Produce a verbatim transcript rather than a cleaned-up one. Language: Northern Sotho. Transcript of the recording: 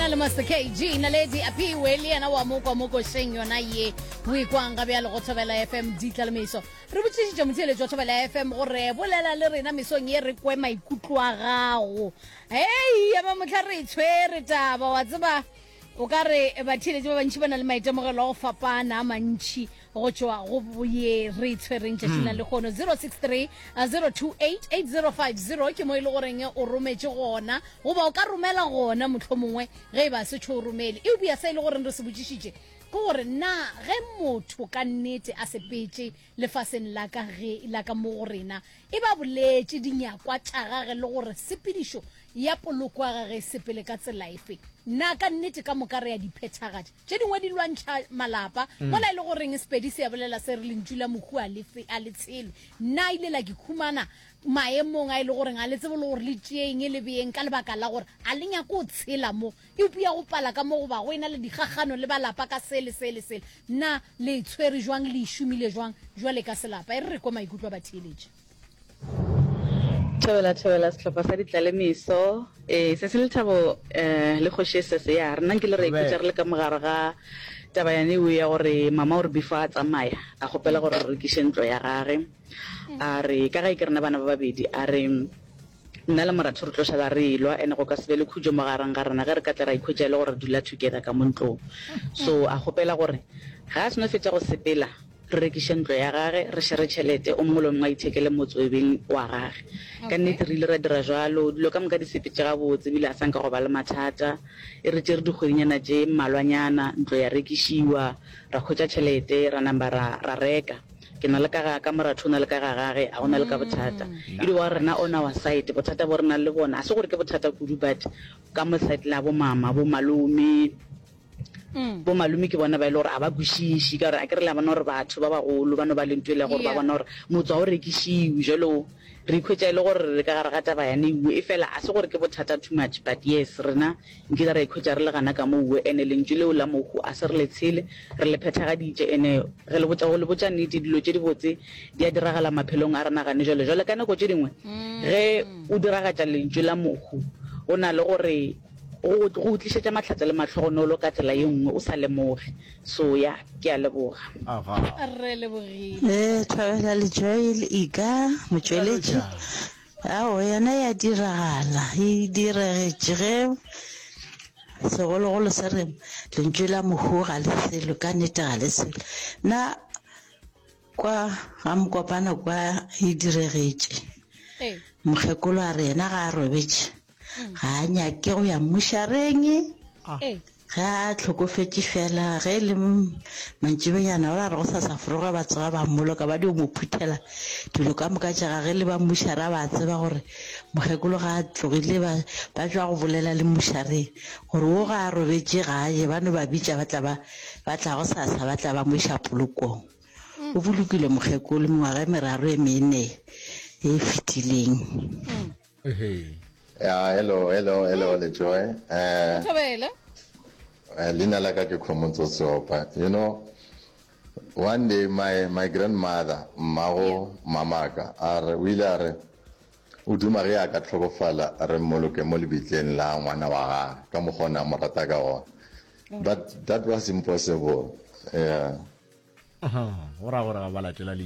Na le Master K G, Naledi Aphiwe le yena wa mo kwa mo košeng yona ye o ikwang ga bjale go Thobela F M Ditlalemeso. Re botšišitše motheeletši wa Thobela F M gore bolela le rena mesong ye, re kwe maikutlo a gago. Hei, ya mamotlha re tshwere taba, wa tseba o ka re batheeletši ba bantši ba na le maitemogelo a go fapana a mantši go tšwa go ye re tshwereng tšatšing la lehono. zero six three zero two eight eight zero five zero ke mo e le goreng o rometše gona, goba o ka romela gona mohlomongwe ge e ba se tšho o romele. Eupša se e le goreng re se botšišitše ke gore na ge motho ka nnete a sepetše lefaseng la ka ge la ka mo go rena, e ba boletše dinyakwa tša gage le gore sepedišo ya poloko ya gage e sepele ka tsela efe, na ka nnete ka moka re ya di phethagatša? Tše dingwe di lwantšha malapa mola e le goreng Sepedi se ya bolela se re lentšu la mohu a le fe- a le tshelwe. Nna ile la ke khumana maemong a e le goreng a le tsebe le gore le tšeeng le beeng ka lebaka la gore a le nyako o tshela mo, eupša go pala ka mo goba go ena le dikgagano le balapa ka sele sele sele. Na le tshwere jwang, le e šomile jwang jwale ka selapa? E re re kwe maikutlo a batheeletši. Thobela, thobela sehlopha sa Ditlalemeso. Ee, se se lethabo um le kgoši e sese ya rena nkile re ikhwetša re le ka mogare ga taba yane eo ya gore mama o re before a tsamaya a kgopela gore re rekiše ntlo ya gage. A re ka ge ke rena bana ba babedi, a re nna le moratho re tlo šala re elwa ene go ka se be le khutšo mo gareng ga rena ge re ka tla ra ikhwetša e le gore re dula together ka mo ntlong. So a kgopela gore ga a seno fetša go sepela re rekiše ntlo ya gage, re šere tšhelete, o mongwe le o mongwe a ithekele motse o e beng wa gage. Ka nnete re ile ra dira jwalo, dilo ka moka di sepetše gabotse ebile a sa nka go ba le mathata. E re tšere dikgwedinyana tše mmalwanyana, ntlo ya rekišiwa, ra hwetša tšhelete, ra namba ra ra reka. Ke na le ka ga ka, moratho o na le ka ga gage, a go na le ka bothata. E dio ba rena on our side, bothata bo re nang le bona, a se gore ke bothata kudu, but ka mo side la bo mama, bo malome, bo malome ke bona ba e le gore a ba kwešiše, ka gore a ke re le a bona gore batho ba bagolo ba no ba le ntho e le ya gore ba Yeah. bona gore motse ga o rekišiwe. Jalo re ikhwetša e le gore re ka gare ga taba yane ewe, e fela a se gore ke bothata too much, but yes, rena nkile ra ikhwetša re le gana ka moo. Ene lentšu leo la mohu a se re le tshele, re le phethagaditše. Ene ge le botša go le botša nnete, dilo tše dibotse di a diragala maphelong a rena gane jalo. Jwale ka nako tše dingwe ge o diragatša lentšu la mohu, go na le gore go go tlišetša mahlatse le mahlogonolo ka tsela ye nngwe o sa lemoge. So ya, ke a leboga. Aga. Re lebogile. Eh, Thobela le Joy le Ika motšweletši. Ao, yona ya diragala, e diregetše ge segologolo se re lentšu la mohu ga le selo, ka nnete ga le selo. Nna kwa ga Mokopana kwa e diregetše. Ee. Mokgekolo a re yena ga a robetše, ga a nyake go ya mmušareng. Ee. Ge a hlokofetše fela, ge e le mantšiboanyana ba re go sa sa foroga ba tsoga ba mmoloka, ba dio mo phuthela dilo ka moka tša gage le ba mmušara ba tseba gore mokgekolo ga a tlogile ba ba tšwa go bolela le mmušareng gore wo ga a robetše ga a je, ba no ba bitša ba tla ba ba tla go sasa ba tla ba mo iša polokong. O bolokile mokgekolo mengwaga e meraro e mene e fetileng. Ehe. Yeah, hello, hello, hello, Lejoy. Uh, Thobela. uh, leina la ka ke Khomotso Seopa. You know, one day my, my grandmother, mmago mamaka, a re, o ile a re, o duma ge a ka tlhokofala re mmoloke mo lebitleng la ngwana wa gage, ka mokgwa o ne a mo rata ka gona. But that was impossible. Yeah. Aha, go ra gore ga ba latela lentšu.